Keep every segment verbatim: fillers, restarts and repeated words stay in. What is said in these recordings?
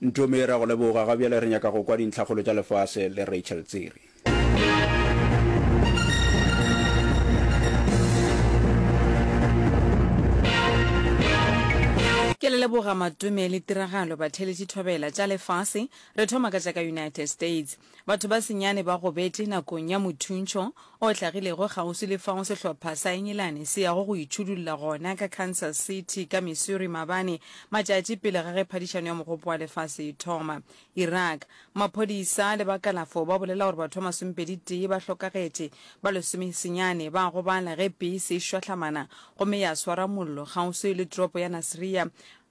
Ntome, re a go leboga. Ga bjale re nyaka go kwa dintlhakgolo tša lefase le Rachel Tsiri. Ke le leboga Matome le tiragalo batheeletši thobela tša lefase. Re thoma ka tša ka United States. Batho ba senyane ba gobetše nakong ya mothuntšho o hlagilego kgauswi le fao sehlopha sa Engelane se yago go itšhudulla gona ka Kansas City ka Missouri maabane, matšatši pele ga ge phadišano ya Mogopo wa Lefase e thoma. Iraq, Maphodisa le ba kalafo ba bolela gore batho ba masomepedi tee ba hlokagetše, ba lesomesenyane ba gobala ge pese e šwahlamana gomme ya swara mollo kgauswi le toropo ya Nasiriyah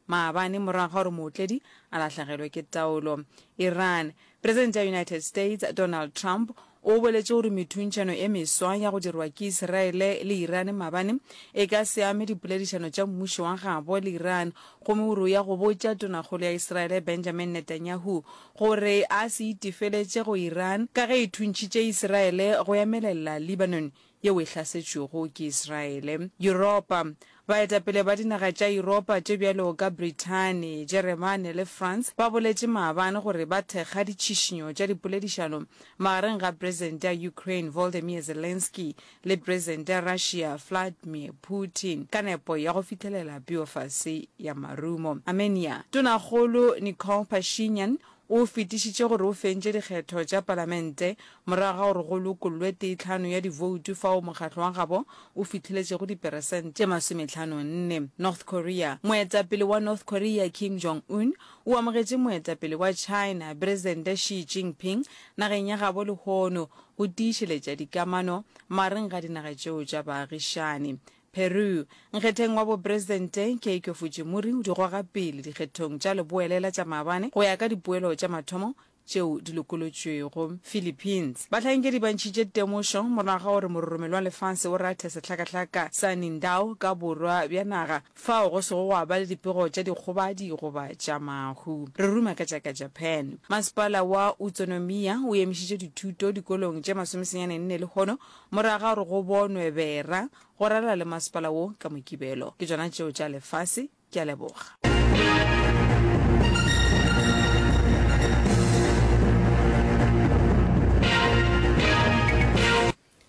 maabane morago ga gore mootledi a lahlegelwe ke taolo. Iran, Presidente ya United States Donald Trump o boletše gore methuntšhano e meswa ya go dirwa ke Isiraele le Iran maabane e ka se ame dipoledišano tša mmušo wa gabo le Iran gomme o re o ya go botša Tonakgolo ya Isiraele Benjamin Netanyahu gore a se itefeletše go Iran ka ge e thuntšhitše Isiraele go emelela Lebanon yeo e hlasetšwego ke Israele. Yuropa, Baetapele ba dinaga tša Yuropa tše bjalo ka Brithani, Jeremane le France ba boletše maabane gore ba thekga ditšhišinyo tša dipoledišano magareng ga Presidente ya Ukraine Volodymyr Zelensky le Presidente ya Russia Vladimir Putin ka nepo ya go fihlelela peofase ya marumo. Armenia, Tonakgolo Nikol Pashinyan O fetišitše gore o fentše dikgetho tša palamente morago ga gore go lokollwe teetlhano ya divoutu fao mokgatlo wa gabo o fihleletšego diperesente tše masometlhano nne. North Korea, Moetapele wa North Korea Kim Jong Un o amogetše moetapele wa China Presidente Xi Jinping nageng ya gabo lehono go tiišeletša dikamano magareng ga dinaga tšeo tša baagišani. Peru, Nkgetheng wa bopresidente Keiko Fujimori o di goga pele dikgethong tša leboelela tša maabane go ya ka dipoelo tša mathomo tšeo di lokolotšwego. Philippines, Bahlankedi ba ntšhitše temošo morago ga gore mororomelo wa lefase o rathe sehlakahlaka sa Nindao ka borwa bja naga fao go sego gwa ba le dipego tša dikgobadi goba tša mahu. Re ruma ka tša ka Japan. Masepala wa Utsunomiya o emišitše dithuto dikolong tše masomesenyane nne lehono morago ga gore go bonwe bera Go ralala le masepala wo ka Mokibelo. Ke tšona tšeo tša lefase. Ke a leboga.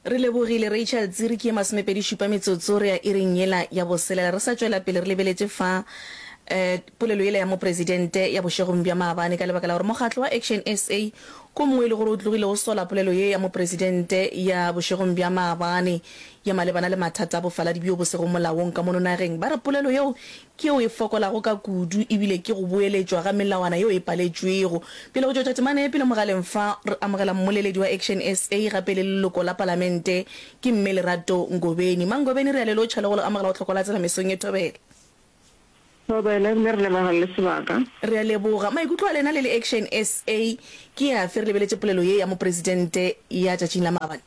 Re lebogile Rachel Tsiri ke ye masomepedi šupa metsotso re ya iring yela ya boselela re sa tšwela pele re lebeletše fa um polelo yela ya mopresidente ya bošegong bja maabane ka lebaka la gore mokgatlo wa Action S A ko mongwe e le gore o tlogile o sola polelo ye ya mopresidente ya bošegong bja maabane ya malebana le mathata a bofaladi bjo bo sego molaong ka mono nageng. Ba re polelo yeo ke yeo e fokolago ka kudu ebile ke go boeletšwa ga melawana yeo e paletšwego. Pele go tšwetša temana ye pele mogaleng fa, re amogela mmoleledi wa Action S A gape le leloko la palamente ke Mme Lerato Ngobeni. Mangobeni re a le lotšha le go le amogela go Tlhoko la Tsela mesong ye thobela. Thobela ebile re leboga le sebaka. Re a leboga. Maikutlo a lena le le Action S A ke afe re lebeletše polelo ye ya Mopresidente ya tšatšing la maabane?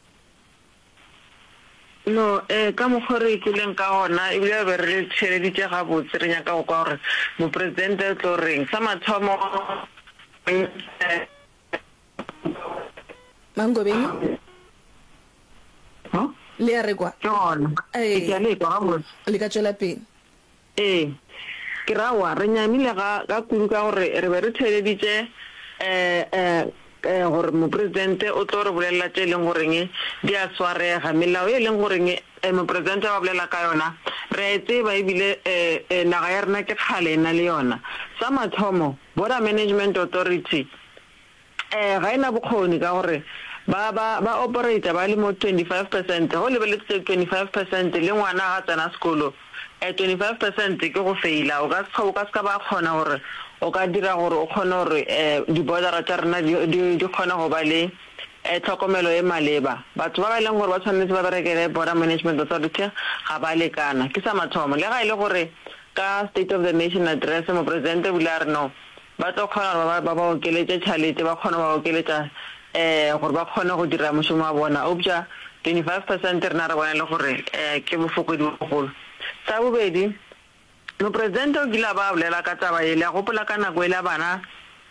No, ee, ka mokgo re ikweleng ka gona, ebile re be re le theeleditše gabotse, re nyaka go kwa gore Mopresidente o tlo reng. Sa mathomo, Mangobeni? Le a re kwa? Ke gona. Ee. Ke a le kwa gabotse. Le ka tšwela pele. Ee, ke ra aowa, re nyamile ga, ga kudu ka gore re be re theeleditše um, um, gore Mopresidente o tlo re bolelela tše e leng goreng di a swarega. Melao ye e leng goreng Mopresidente ba bolela ka yona, re a e tseba ebile um, naga ya rena ke kgale e na le yona. Sa mathomo, Border Management Authority, Ee, ga e na bokgoni ka gore ba, ba, ba operator ba le mo twenty five percent. Ge o lebeletše twenty five percent le ngwana ga tsena sekolo, eh, twenty five percent ke go feila. O ka se, o ka se ka ba kgona gore o ka dira gore o kgone gore eh, di-border-a tša rena di, di, di kgone go ba le eh, tlhokomelo e maleba. Batho ba ba e leng gore ba tshwanetse ba berekele Border Management Authority ga ba lekana. Ke sa mathomo. Le ga e le gore ka State of the Nation Address Mopresidente o ile a re no, Ba tlo kgona gore ba, ba ba okeletše tšhalete, ba kgone go ba okeletša um gore ba kgone go dira mošomo wa bona. Eupša twenty five percent rena re bona e le gore um ke bofokodi bo bogolo. Sa bobedi, Mopresidente o kile a ba a bolela ka taba ye, le a gopola ka nako yela bana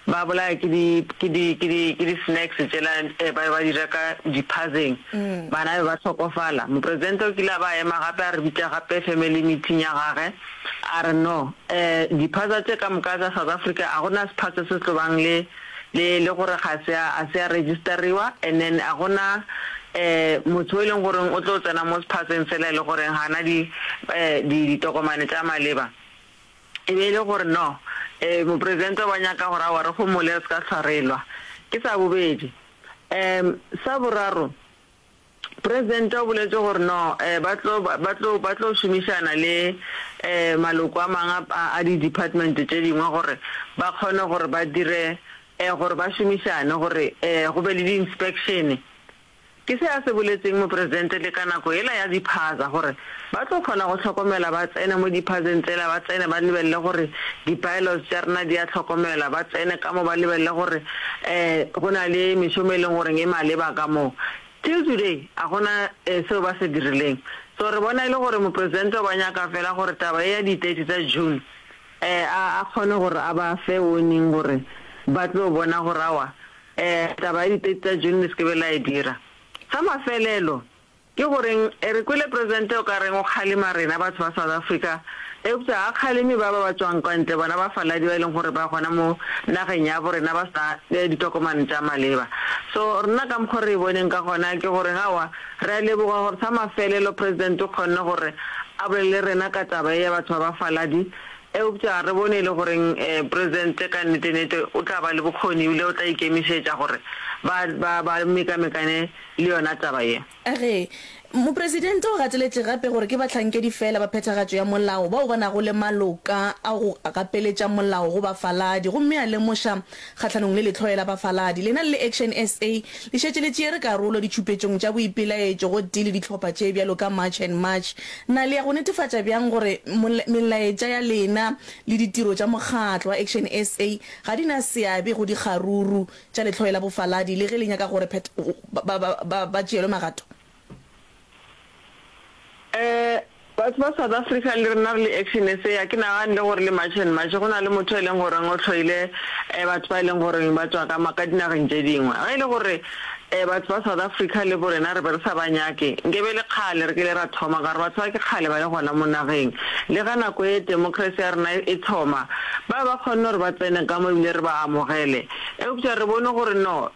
ba bolaya ke di ke di ke di ke di snacks tšela ba be ba di reka diphazeng, bana be ba hlokofala. Mopresidente o kile a ba ema gape a re bitša gape family meeting ya gage a re no diphaza tše ka moka tša South Africa a gona sephaza se se tlo bang le le le gore ga se a a se a register-iwa and then a gona motho o e leng goreng o tlo tsena mo sephazeng sela e le goreng ga na di di ditokomane tša maleba. E be e le gore no mopresidente o ba nyaka gore aowa re homole re se ka hlwa re lwa. Ke sa bobedi. Sa boraro, presidente o boletše gore no ba tlo ba tlo ba tlo šomišana le maloko a mangwe a a di-department tše dingwe gore ba kgone gore ba dire gore ba šomišane gore go be le di-inspection. Ke se a se boletseng mopresidente le ka nako yela ya diphaza, gore ba tlo kgona go hlokomela, ba tsene mo diphazeng tsela, ba tsene ba lebelele gore di-bylaws tša rena di a hlokomelwa, ba tsene ka mo ba lebelele gore um go na le mešomo e leng goreng e maleba ka mo. Till today a go na seo ba se dirileng. So re bona e le gore mopresidente o ba nyaka fela gore taba ye ya di thirty tša June um a a kgone gore a ba fe warning gore ba tlo bona gore aowa um taba ya di thirty tša June le se ke be la e dira. Sa mafelelo, ke goreng re kwele Presidente o ka reng o kgalema rena batho ba South Africa, eupša ga a kgaleme ba ba ba tšwang kwa ntle, bona bafaladi ba e leng gore ba gona mo nageng ya bo rena ba sena ditokomane tša maleba. So rena ka mokgo re e boneng ka gona ke goreng aowa, re a leboga gore sa mafelelo President o kgonne gore a bolele le rena ka taba ye ya batho ba bafaladi, eupša re bone e le goreng Presidente ka nnete-nnete o tla ba le bokgoni ebile o tla ikemišetša gore ba, ba, ba mekamekane le yona taba ye. Ge, Mopresidente o gateletše gape gore ke bahlankedi feela ba phethagatšo ya molao bao ba nago le maloka a go gapeletša molao go bafaladi gomme a lemoša kgahlanong le lehloyo la bafaladi. Lena le le Action S A le šetše le tšeere karolo ditšhupetšong tša boipelaetšo gotee le dihlopha tše bjalo ka March and March. Na le ya go netefatša bjang gore melaetša ya lena le ditiro tša mokgatlo wa Action S A ga di na seabe go dikgaruru tša lehloyo la bofaladi le ge le nyaka gore ba tšeelwe magato? Eh, batho ba South Africa le rena re le Action S A, ga ke nagane le gore le March and March go na le motho e leng goreng o hloile batho ba e leng goreng ba tšwa ka ka dinageng tše dingwe. Ge e le gore batho ba South Africa le bo rena re be re sa ba nyake, nke be le kgale re kile ra thoma, ka gore batho ba ke kgale ba le gona mo nageng. Le ge nako ye democracy ya rena e thoma, ba be ba kgonne gore ba tsene ka mo ebile re ba amogele. Eupša re bone gore no,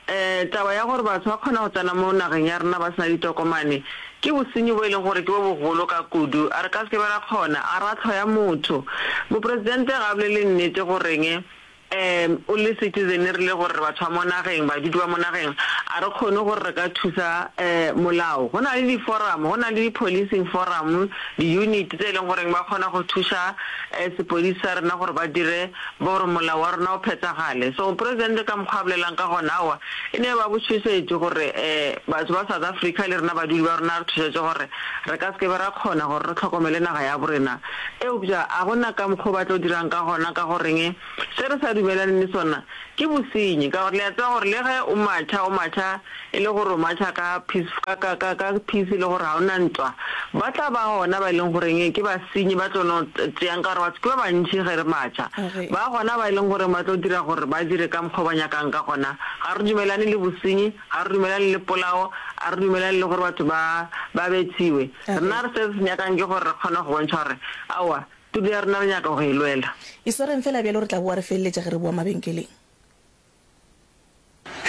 taba ya gore batho ba kgona go tsena mo nageng ya rena ba se na ditokomane, Ke bosenyi bo e leng gore ke bo bogolo ka kudu. A re ka se ke be ra kgona. A ra hloya motho. Mopresidente ga a bolele nnete goreng um o le citizen re le gore re batho ba mo nageng, badudi ba mo nageng, a re kgone gore re ka thusa um molao. Go na le di-forum, go na le di-policing forum, di-unit tse e leng goreng ba kgona go thuša um sepodisi sa rena gore ba dire gore molao wa rena o phethagale. So mopresidente ka mokgwa a bolelang ka gona, aowa, E ne ba botšhošetše gore batho ba South Africa le rena badudi ba rona re tšhošetše gore re ka se ke be ra kgona gore re hlokomele naga ya borena. Eupša a go na ka mokgo ba tlo dirang ka gona ka goreng se re sa dumelaneng le sona ke bosenyi ka gore le a tseba gore le ge o matšha o matšha e le gore o matšha ka peace ka ka ka ka peace e le gore ga o na ntwa ba tla ba gona ba e leng goreng ke basenyi ba tlo no tšeang ka gore batho ke ba bantši ge re matšha ba gona ba e leng goreng ba tlo dira gore ba dire ka mokgo ba nyakang ka gona. Ga re dumelane le bosenyi, ga re dumelane le polao, a re dumelane le gore batho ba ba bethiwe. Rena re se re se nyakang ke gore re kgone go bontšha gore aowa, tulo ya rena re nyaka go e lwela. Iswareng fela bjalo re tla boa re feleletša ge re boa mabenkeleng.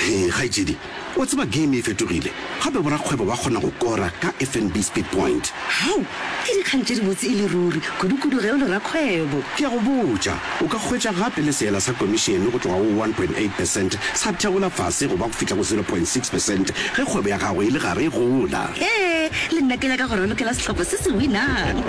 Hee kgaetšedi, wa tseba game e fetogile, gape borakgwebo ba kgona go kora ka F N B Speed Point. Hao! Ke dikgang tše dibotse e le ruri, kudukudu ge o le rakgwebo. Ke a go botša, o ka hwetša gape le seela sa komišene go tloga go one point eight percent sa theola fase go ba go fihla go zero point six percent ge kgwebo ya gago e le gare e gola. Hee, le nna ke nyaka go ralokela sehlopha se se winang.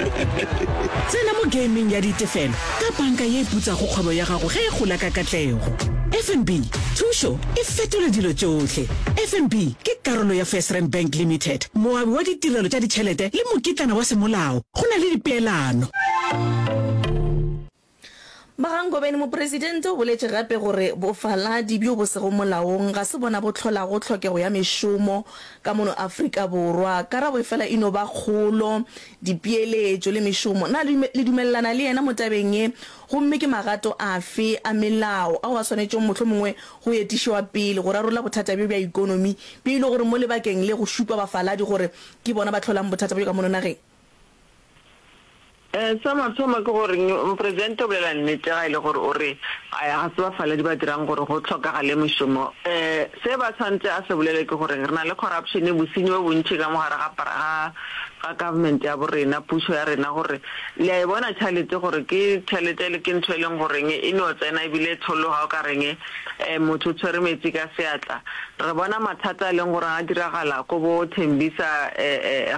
Tsena mo gameng ya ditefelo ka panka ye e putsago kgwebo ya gago ge e gola ka katlego. F N B, thušo e fetola dilo tšohle. F N B ke karolo ya FirstRand Bank Limited, moabi wa ditirelo tša ditšhelete le mokitlana wa semolao. Go na le dipeelano. Magangobeni Mopresidente o boletše gape gore bofaladi bjo bo sego molaong ga se bona bo hlolago tlhokego ya mešomo ka mono Afrika Borwa. Karabo efela e no ba kgolo, dipeeletšo le mešomo. Na le dumelelana le yena mo tabeng ye? Gomme ke magato afe a melao ao a swanetšego mohlomongwe go etišwa pele go rarolla bothata bjo bja ekonomi bjo e le gore mo lebakeng le go šupa bafaladi gore ke bona ba hlolang bothata bjo ka mono nageng? Sa mathomo ke gore Mopresidente o bolela nnete ga e le gore o re ga se bafaladi ba dirang gore go hlokagale mešomo. Se ba tshwanetse a se bolele ke gore re na le corruption, bosenyi bo bontši ka mo gare ga ga ga government ya bo rena, pušo ya rena gore le a e bona tšhalete gore ke tšhalete ke ntho e leng goreng e no tsena ebile e tshologa o ka reng motho o tshwere metsi ka seatla. Re bona mathata a leng gore a diragala ko bo Tembisa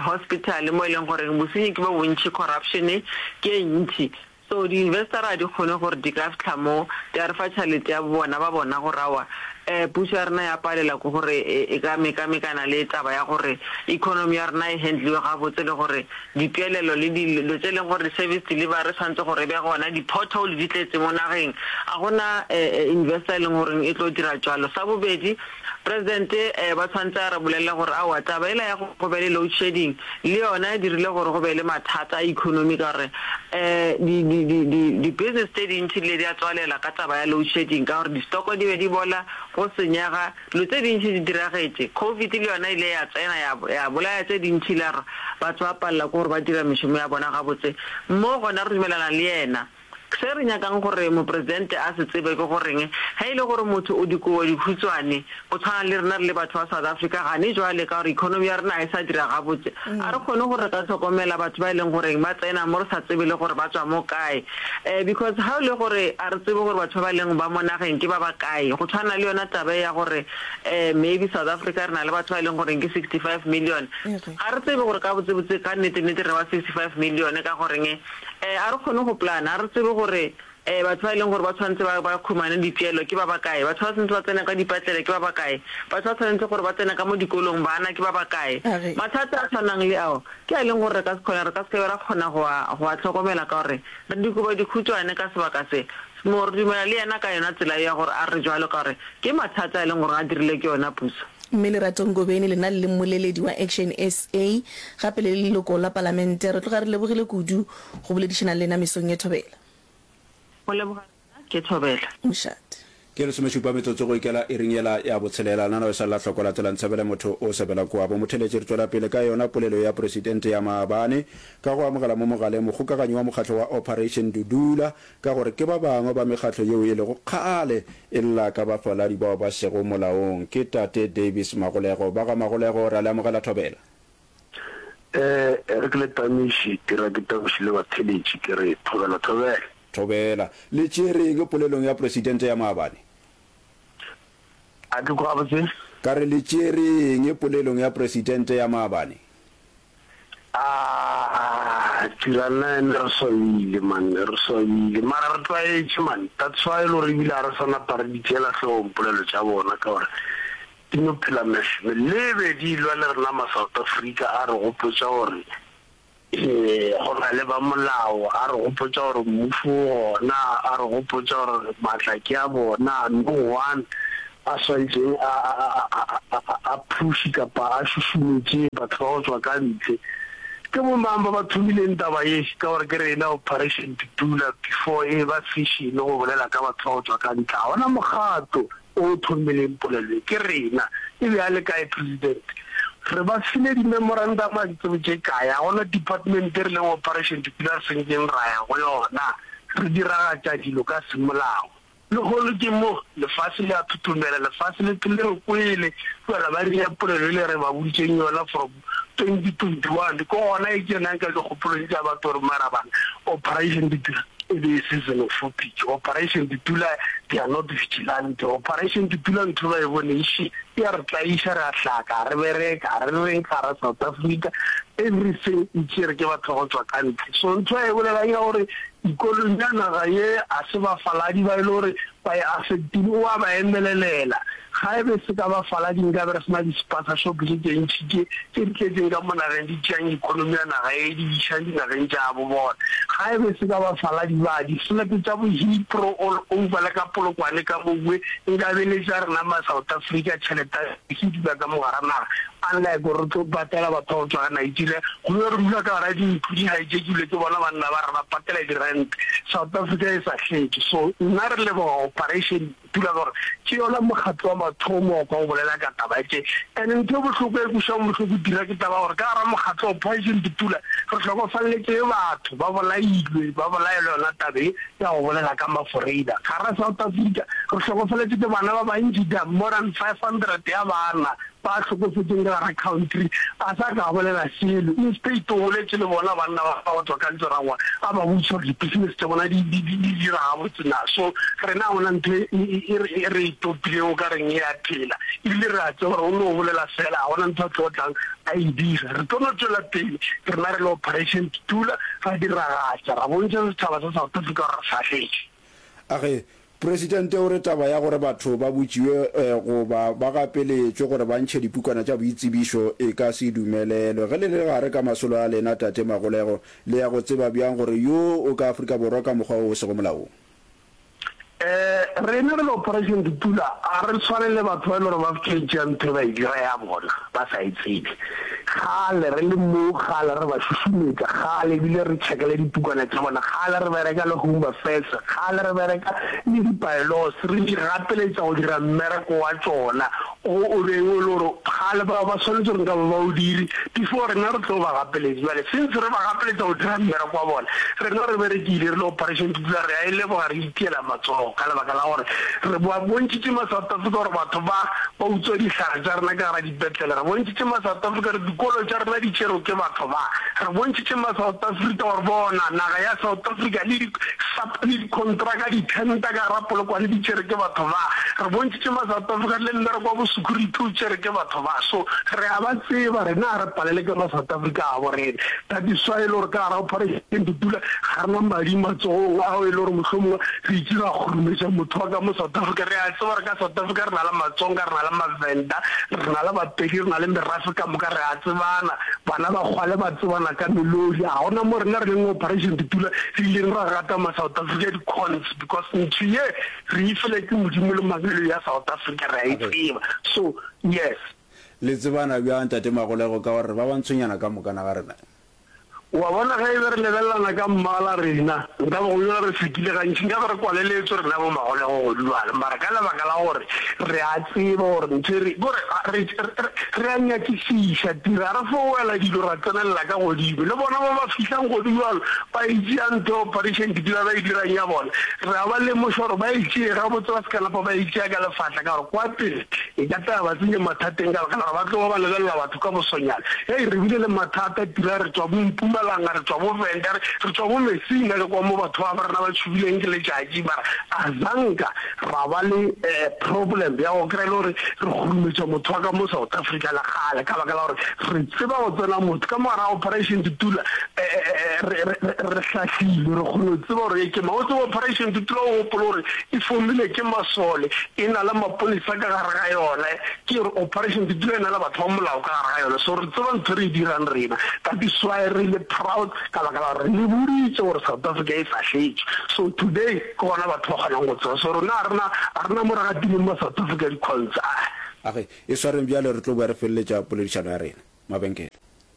hospital mo e leng gore bosenyi ke bo bontši, corruption ke e ntši. So di investor ga di kgone gore di ka fihla mo di a re fa tšhalete ya bona ba bona gore aowa pušo ya rena ya palela ke gore e ka mekamekana le taba ya gore economy ya rena e handliwe gabotse le gore dipeelelo le dilo tše leng gore di-service delivery tshwanetse gore e be gona, di-pothole di tletse mo nageng, ga gona investor e leng gore e tlo dira jwalo. Sa bobedi, President ba tshwanetse a re bolelele gore aowa taba ela ya go be le load shedding le yona e dirile gore go be le mathata a economy ka gore di di di di di business tše dintši di ile di a tswalela ka taba ya load shedding ka gore di-stoko di be di bola, go senyega, dilo tše dintši di diragetše. Covid le yona ile ya tsena ya ya bolaya tše dintši la re batho ba palela ke gore ba dira mešomo ya bona gabotse. Mo gona re dumelana le yena. Se re nyakang gore mopresidente a se tsebe ke goreng ge e le gore motho o dikobo dikhutswane go tshwana le rena re le batho ba South Africa gane jwale ka gore economy ya rena ga e sa dira gabotse a re kgone gore re ka hlokomela batho ba e leng goreng ba tsena mo re sa tsebe le gore ba tswa mo kae um because ga o le gore a re tsebe gore batho ba ba leng ba mo nageng ke ba ba kae go tshwana le yona taba e ya gore um maybe South Africa re na le batho ba e leng goreng ke sixty five million ga re tsebe gore ka botsebotse ka nnete nnete re ba sixty five million ka goreng Eh, a re kgone go plana, a re tsebe gore eh, batho ba e leng gore ba tshwanetse ba, ba khumane dipeelo ke ba bakae, batho ba tshwanetse ba tsene ka dipetlele ke ba bakae, batho ba tshwanetse gore ba tsene ka mo dikolong bana ke ba bakae. A re. Mathata a tshwanang le ao ke a e leng gore re ka se kgone, re ka se ke be ra kgona go a, go a hlokomela ka gore re dikobo dikhutšwane ka sebaka se. Mo, re dumela le yena ka yona tsela eo ya gore a re jwalo ka gore ke mathata a e leng gore a dirile ke yona puso. Mme Lerato Ngobeni, lena le le mmoleledi wa Action S A, gape le le leloko la Palamente, re tloga re lebogile kudu go boledišana le lena mesong ye. Thobela. Go leboga rena, ke Thobela. Mošate. Ke lesomešupa metsotso go ikela iring yela ya botshelela. Nana o sa lla hloko la tsela ntshebele motho o sebela koabo. Motheletši re tšwela pele ka yona polelo ya Presidente ya maabane ka go amogela mo mogaleng mokgokaganyi wa mokgatlo wa Operation Dudula ka gore ke ba bangwe ba mekgatlo yeo e lego kgale e lla ka bafaladi bao ba sego molaong. Ke Tate Davis Magolego. Ba ga Magolego, re a le amogela Thobela. E re ke le tamiše, ke ra ke tamiše le batheeletši, ke re Thobela, Thobela. Thobela. Le tšere eng polelong ya Presidente ya maabane? A ke kwa gabotse? Ka re le tšere eng polelong ya Presidente ya maabane? Aah Tira nna ene re swabile man, re swabile mara re tlwaetše man, that's why e le gore ebile ga re sa napa re di tšeela hlogong polelo tša bona ka gore di no phela mehlo le be di lwa le rena ma South Africa a re gopotša gore go na le ba molao, a re gopotša gore mmušo o gona, a re gopotša gore maatla ke a bona, no one a swantšeng a, a, a, a, a, a, a push kapa a šušumetše batho ba go tšwa ka ntle. Ke bo mang ba ba thomileng taba ye? Ka gore ke rena Operation Dudula before e ba fashion go bolela ka batho ba go tšwa ka ntle. Ga gona mokgatlo o thomileng polelo ye, ke rena. E be a le kae President? Re ba file di-memorandum a ke tsebe tše kae. Ga gona department e re leng Operation Dudula re sentšeng ra ya go yona. Re diragatša dilo ka semolao. Lehono ke mo, lefase le a thothomela, lefase le le re kwele, bjale ba ria polelo ele re ba boditšeng yona from twenty twenty one ke gona e tsenang ka dikgopolong tša batho gore mara bana Operation Dudula e be e se xenophobic, Operation Dudula they are not vigilante, Operation Dudula ntho ba e boneng še e a re tlaiša, re a hlaka, ga re bereke, ga re reng ka gara South Africa, everything e tšere ke batho ba go tšwa ka ntle. So ntho a e bolelang ya gore Ikonomi ya naga ye a se bafaladi ba e le gore ba e affectile, o a ba emelelela. Ga e be se ka bafaladi nkabe re se na di-spaza shop tše tše ntši tše tše di tletšeng ka mo nageng di tšeang economy ya naga ye di išang dinageng tša bo bona. Ga e be se ka bafaladi ba di-flat tša bo Hillbrow all over le ka Polokwane ka mowe nkabe e le tša rena ma South Africa tšhelete ya se dula ka mo gara naga unlike gore re tlo patela batho ba go tšwa Nigeria go be re dula ka gara dintlo di hijackilwe ke bona banna ba re ba patela di-rent South Africa e sa hletše so nna re leboga operation Dula gore ke yona mokgatlo wa mathomo wa kwa o bolela ka taba tše. And ntho e bohloko e kwešago bohloko dira ke taba ya gore ka gara mokgatlo wa Operation Dudula re hlokofalletše batho ba bolailwe ba bolaelwa yona taba e ya go bolela ka maforeina. Gara South Africa re hlokofaletše ke bana ba bantši there are more than five hundred ya bana ba hlokofetšeng ka gara country a sa ka a bolela selo instead o boletše le bona banna ba go tšwa ka Ntsoragoa a ba botšiša gore di-business tša bona di di di dira gabotse na so rena ga gona ntho e e e re e topileng o ka reng e a phela ebile re a tseba gore o no bolela fela ga gona ntho a tlo tlang a e dira re tlo no tšwela pele rena re le operation Dudula ra diragatša ra bontšha setšhaba sa South Africa gore re fahletše. A re, Presidente o re taba ya gore batho ba botšiwe goba ba gapeletšwe gore ba ntšhe dipukwana tša boitsebišo e ka se dumelelwe. Ge le le gare ka masolo a lena, Tate Magolego, le ya go tseba bjang gore yoo o ka Afrika Borwa ka mokgwa wo o sego molaong? Rena re le Operation Dudula ga re tshwane le batho ba e le gore ba fetša tšea ntho e ba e dira ya bona ba sa e tsebe. Kgale re le mo, kgale re ba šušumetša, kgale ebile re tšhekele dipukwana tša bona, kgale re bereka le Home Affairs, kgale re bereka le di-bylaws, re di gapeletša go dira mmereko wa tšona o o beng o le gore kgale ba ba swanetše gore nkabe ba o dire before rena re tlo ba gapeletša. Bjale since re ba gapeletša go dira mmereko wa bona, rena re berekile re le Operation Dudula re a e leboga, re itiela matsogo ka lebaka la gore re ba bontšhitše ma-South Africa gore batho ba ba utswa dihlare tša rena ka gara dipetlele. Re bontšhitše ma-South Africa gore dikolo tša rena di tšerwe ke batho ba. Re bontšhitše ma-South Africa gore bona naga ya South Africa le di le dikontraka, ditender ka gara Polokwane di tšerwe ke batho ba. Re bontšhitše ma-South Africa le mmereko wa bo-security o tšerwe ke batho ba. So re a ba tseba, rena ga re palele ke ma-South Africa a bo rena. That is why e le gore ka gara Operation Dudula ga re na madi matsogong ao e le gore mohlomongwe re itše ra kgurumetša motho wa ka mo South Africa. Re a tseba gore ka South Africa re na le Matsonga, re na le Mavenda, re na le Bapedi, re na le merafe ka moka, re a tsebana. Bana ba kgwale ba tsebana ka melodi. Ga gona mo rena re leng Operation Dudula re ileng ra gata ma South Africa di-cons because ntho ye re e file ke Modimo le mangwele ya South Africa re a e tseba. So yes. Le tsebana bjang Tate Magolego ka gore re ba bantshonyana ka moka na ga rena? Wa bona, ge e be re lebelelana ka mmala rena, nka be go bjalo re sekile gantši, nka be re kwaleletswe rena bo magolego godibjalo. Mara ka lebaka la gore re a tseba gore ntho e re, ke gore re, re, re a nyakišiša, tira, ga re fo wela dilo ra tsenelela ka godimo. Le bona ba ba fihlang godibjalo, ba e tšea ntho ya operation Dudula ba e dirang ya bona, re a ba lemoša gore ba e tšee gabotse, ba se ka napa ba e tšea ka lefatla, ka gore kwa pele e ka tla ya ba tsenya mathateng ka lebaka la gore ba tlo ba ba lebelela batho ka bosonyana. Hei, re bile le mathata, Tira, re tšwa bo Mpumalanga, re tšwa bo Venda, re, re tšwa bo Messina, le kwa mo batho ba ba rena ba tšhubileng ke letšatši, mara a zanka ra ba le eh, problem ya go kry-a e le gore re kgurumetša motho wa ka mo South Africa le kgale, ka baka la gore re tseba go tsena motho ka mo gare ga Operation Dudula, eh, eh, eh, re, re, re, re hlahlilwe, re kgone go tseba gore ye ke mang. O tsebe Operation Dudula o gopole gore e fomilwe ke masole, e na le maponesa ka gare ga yona, Ke re operation Dudula e na le batho ba molao ka gare ga yona, so re tseba ntho re e dirang rena. That is why re le proud ka baka la gore re le boditše gore South Africa e fahletšwe. So today ke gona batho ba kgonang go tseba. So rena ga rena ga rena mo re gatileng ma South Africa di-coins aa. A re e swareng bjale re tlo boa re feleletša poledišano ya rena. Mabenkele.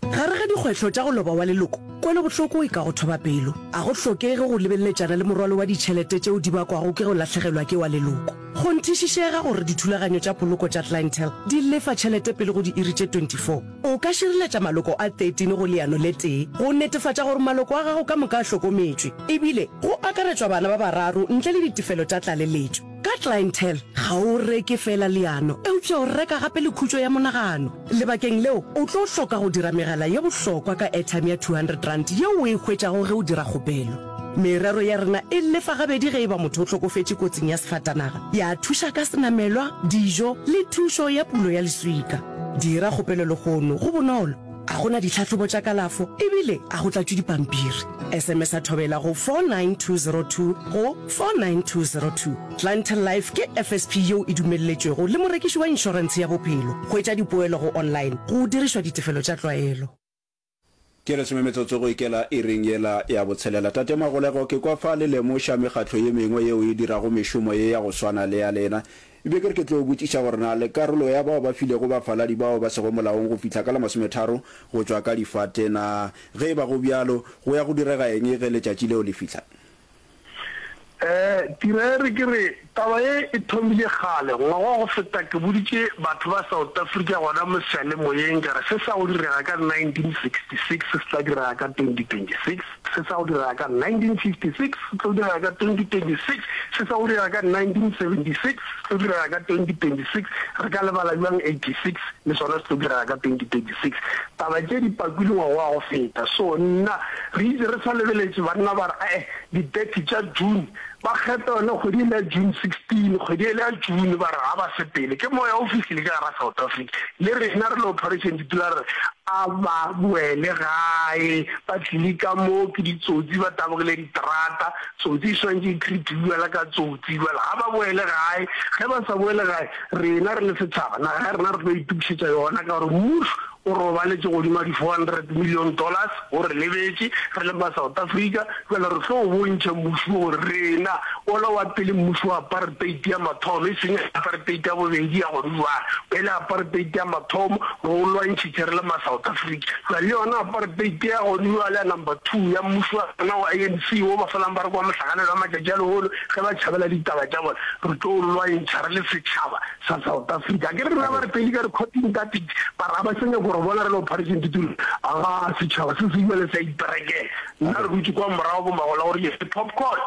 Gare ga dikgwehlo tša go loba wa leloko, kwelobohloko e ka go thoba pelo. A go hlokege go lebeleletšana le morwalo wa ditšhelete tšeo di bakwago ke go lahlegelwa ke wa leloko. Kgonthišišega gore dithulaganyo tša poloko tša Clientele di lefa tšhelete pele go diiri tše twenty four. O ka šireletša maloko a thirteen go leano le tee go netefatša gore maloko a gago ka moka a hlokometšwe, ebile go akaretšwa bana ba bararo ntle le ditefelo tša tlaleletšo. Ka Clientele, ga o reke feela leano, eupša o reka gape le khutšo ya monagano. Lebakeng leo, o tlo hloka go dira megala ye bohlokwa ka airtime ya two hundred rand yeo o e hwetšago ge o dira kgopelo. Merero ya rena e lefa gabedi ge e ba motho o hlokofetše kotsing ya sefatanaga, ya thuša ka senamelwa, dijo le thušo ya pulo ya leswika. Dira kgopelo lehono, go bonolo. A go na ditlhahlobo tša kalafo ebile a go tlatšwe dipampiri. S M S-a Thobela go four nine two zero two go four nine two zero two. Clientele Life ke F S P yeo e dumelletšwego le morekiši wa inšorentshe ya bophelo. Hwetša dipoelo go online go dirišwa ditefelo tša tlwaelo. Ke lesome metsotso go ikela iring yela ya botshelela. Tate Magolego, ke kwa fa le lemoša mekgatlo ye mengwe yeo e dirago mešomo ye ya go swana le ya lena. Ebile ke re ke tlo botšiša gore na le karolo ya bao ba filego bafaladi bao ba sego molaong go fihla ka la masometharo go tšwa ka difate na? Ge e ba go bjalo, go ya go direga eng ge letšatši leo le fihla? Eh, tira e re ke re, taba ye e thomile kgale, ngwaga wa go feta ke boditše batho ba South Africa gona mo seyalemoyeng ka re se sa go direga ka nineteen sixty six se tla direga ka twenty twenty six, se sa go direga ka nineteen fifty six se tlo direga ka twenty twenty six, se sa go direga ka nineteen seventy six se tlo direga ka twenty twenty six, re ka lebala bjang eighty six le sona se tlo direga ka twenty twenty six. Taba tše di pakilwe ngwaga wa go feta. So nna re itše re sa lebeletše banna ba re ae di thirty tša June ba kgetha yona kgwedi ele ya June sixteen kgwedi ele ya June ba re ga ba sepele ke moya o fihlile ka gara South Africa le rena re le Operation Dudula re re a ba boele gae ba tlile ka mo ke ditsotsi ba tabogile diterata tsotsi e swanetše e treatiwe bjala ka tsotsi bjale ga ba boele gae ge ba sa boele gae rena re le setšhaba naga ya rena re tlo itokišetša yona ka gore mmušo O robaletše godimo ga di four hundred million dollars, o re lebetše re le ma South Africa, bjale re tlo bontšha mmušo wo gore rena, wola wa pele mmušo wa apartheid ya mathomo, e seng apartheid ya bobedi ya gone bjale, e le apartheid ya mathomo, re o lwantšhitše re le ma South Africa. Bjale le yona apartheid ya gone bjale ya number two ya mmušo wa rena wa A N C wo ba felang ba re ke wa mohlakanelwa wa matšatši a lehono ge ba tšhabela ditaba tša bona, re tlo o lwantšha re le setšhaba sa South Africa. Akere rena ba re pele ka re caught in that it, ba re ga ba sa nyaka go re bona re le Operation Dudula. Agaa, setšhaba se se bjale se a iperekela. Nna re dutše kwa morago bo Magola gore ke popcorn.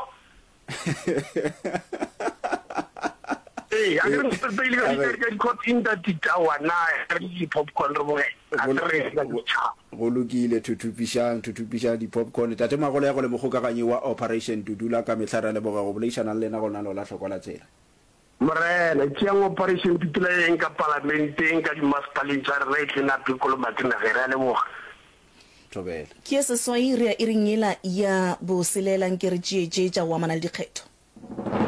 Ee, akere re pele ka di ka di caught in that it, aowa nna re ke popcorn re bogela. Ga se rena ke setšhaba. Go lokile, thuthupišang, thuthupišang di-popcorn. Tate Magolego le mokgokaganyi wa Operation Dudula, ka mehla re a leboga go boledišana le lena go lenaneo la Hlokwa la Tsela. Morena, tšeang Operation Dudula e yeng ka Palamenteng, ka dimasepaleng tša rena, e tle nape kolomake nageng. Re a leboga. Thobela. Ke ye seswai re ya iring yela ya boselela nke re tšee tše tša go amana le dikgetho.